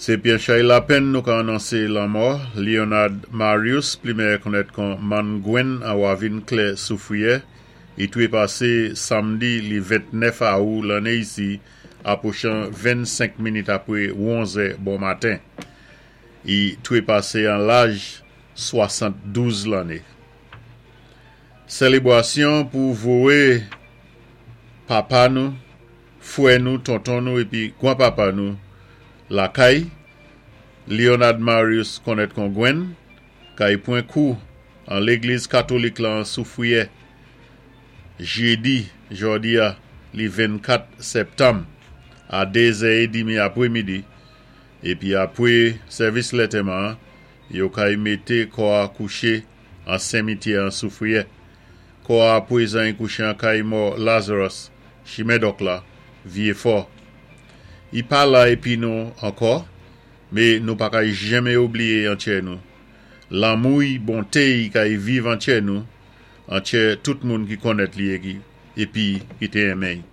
Sé pi an chay lapenn nou ka anonsé lanmò Leonard Marius, pli méyè konnèt kon Man Gwen an Wavin Klè Soufriyè. I twépasé samdi li 29 awou lanné isi apwochan 25 minit apwé 11è bon maten. I twépasé an laj 72 lanné. Sélébwasyon pou vowé papa nou, fwè nou, tonton nou épi gwanpapa nou lakay, Leonard Marius konnèt kon Gwen, kay pwan kou an légliz katolik lan Soufriyè, jédi jòdi-a li 24 sèptanm a 2 zè édmi apwémidi, épi apwé sèvis lantèman-an, yo kay mété kò-a kouché an senmityè an Soufriyè. Kò-a apwézan i kouché an kay mò Lazarus, Chimen Dòk la, Vyéfò. I pa la épi nou ankò, mé nou pa kay janmen oubliyé an tchè nou. Lanmou-y, bonté-y kay viv an tchè nou, an tchè tout moun ki konnèt li épi ki té enmen-y.